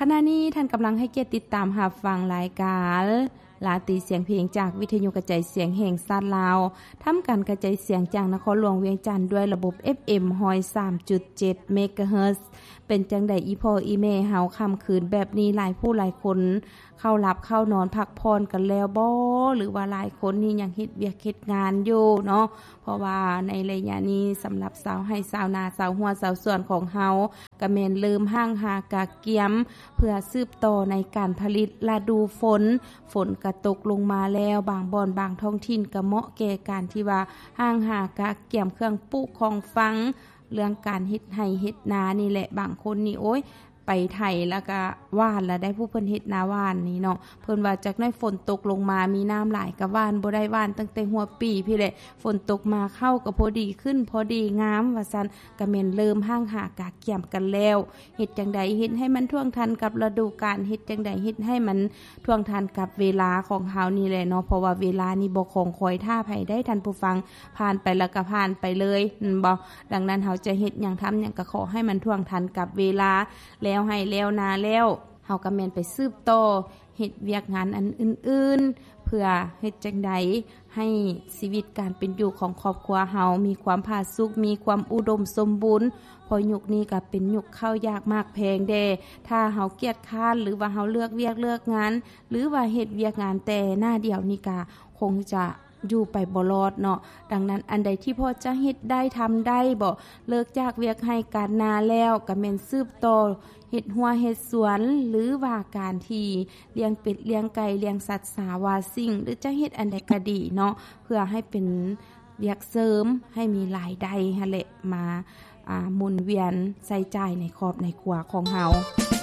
ຂະນະນີ້ທ່ານກຳລັງໃຫ້ກຽດຕິດຕາມຮັບຟັງລາຍການລາຕີສຽງເພງ ຈາກວິທະຍຸກະຈາຍສຽງແຫ່ງຊາດລາວ, ທຳການກະຈາຍສຽງຈາກນະຄອນຫຼວງວຽງຈັນ ດ້ວຍລະບົບ ເອັຟເອັມ ຮ້ອຍສາມຈຸດເຈັດ ເມກາເຮີດ. ເປັນຈັ່ງໃດອີ່ພໍ່ອີ່ແມ່ເຮົາ ຄ່ຳຄືນແບບນີ້ ຫຼາຍຜູ້ຫຼາຍຄົນເຂົ້າຫຼັບເຂົ້ານອນພັກຜ່ອນກັນແລ້ວບໍ ຫຼືວ່າຫຼາຍຄົນນີ້ຍັງເຮັດວຽກເຮັດງານຢູ່ເນາະ? ເພາະວ່າໃນໄລຍະນີ້ ສຳລັບຊາວໄຮ່ຊາວນາ ຊາວຮົ້ວຊາວສວນຂອງເຮົາ ກະແມ່ນເລີ່ມຫ້າງຫາກະກຽມ ເພື່ອສືບຕໍ່ໃນການຜະລິດລະດູຝົນ. ຝົນກະຕົກລົງມາແລ້ວ ບາງບ່ອນບາງທ້ອງຖິ່ນກະເໝາະແກ່ການທີ່ວ່າຫ້າງຫາກະກຽມເຄື່ອງປູກຂອງຝັງ ເລື່ອງການເຮັດໄຮ່ເຮັດນານີ້ແຫຼະ. ບາງຄົນນີ້ ໂອ້ຍ ໄປໄຖແລ້ວກະຫວ່ານລະໄດ໋ ຜູ້ເພິ່ນເຮັດນາຫວ່ານນີ້ເນາະ, ເພິ່ນວ່າຈັກໜ້ອຍຝົນຕົກລົງມາ ມີນ້ຳຫຼາຍກະຫວ່ານບໍ່ໄດ້ ຫວ່ານຕັ້ງແຕ່ຫົວປີພຸ້ນແຫຼະ. ຝົນຕົກມາເຂົ້າກະພໍດີຂຶ້ນ ພໍດີງາມວ່າຊັ້ນ, ກະແມ່ນເລີ່ມຫ້າງຫາກະກຽມກັນແລ້ວ. ເຮັດຈັ່ງໃດເຮັດໃຫ້ມັນທ່ວງທັນກັບລະດູການ, ເຮັດຈັ່ງໃດເຮັດໃຫ້ມັນທ່ວງທັນກັບເວລາຂອງເຮົານີ້ແຫຼະເນາະ, ເພາະວ່າເວລານີ້ບໍ່ຄອງຄອຍຖ້າໃຜໄດ໋ ທ່ານຜູ້ຟັງ, ຜ່ານໄປແລ້ວກະຜ່ານໄປເລີຍ ແມ່ນບໍ່? ດັ່ງນັ້ນເຮົາຈະເຮັດຫຍັງທຳຫຍັງກະຂໍໃຫ້ມັນທ່ວງທັນກັບເວລາ, ແລ້ວໄຮ່ແລ້ວນາແລ້ວ ເຮົາກະແມ່ນໄປສືບຕໍ່ເຮັດວຽກງານອັນອື່ນໆ ເພື່ອເຮັດຈັ່ງໃດ ໃຫ້ຊີວິດການເປັນຢູ່ຂອງຄອບຄົວເຮົາມີຄວາມຜາສຸກ ມີຄວາມອຸດົມສົມບູນ, ເພາະຍຸກນີ້ກະເປັນຍຸກເຂົ້າຍາກໝາກແພງແດ່. ຖ້າເຮົາກຽດຄ້ານ ຫຼືວ່າເຮົາເລືອກວຽກເລືອກງານ ຫຼືວ່າເຮັດວຽກງານແຕ່ໜ້າດຽວນີ້ກະຄົງຈະຢູ່ໄປບໍ່ລອດເນາະ. ດັ່ງນັ້ນ ອັນໃດທີ່ພໍຈະເຮັດໄດ້ທຳໄດ້ບໍ ເລີກຈາກວຽກໄຮ່ການນາແລ້ວ ກະແມ່ນສືບຕໍ່ເຮັດຮົ້ວເຮັດສວນ ຫຼືວ່າການທີ່ລ້ຽງເປັດລ້ຽງໄກ່ ລ້ຽງສັດສາວາສິ່ງ ຫຼືຈະເຮັດອັນໃດກະດີເນາະ ເພື່ອໃຫ້ເປັນວຽກເສີມ ໃຫ້ມີລາຍໄດ້ຫັ້ນແຫຼະ ມາ ອາ ໝູນວຽນໃຊ້ຈ່າຍໃນຄອບໃນຄົວຂອງເຮົາ.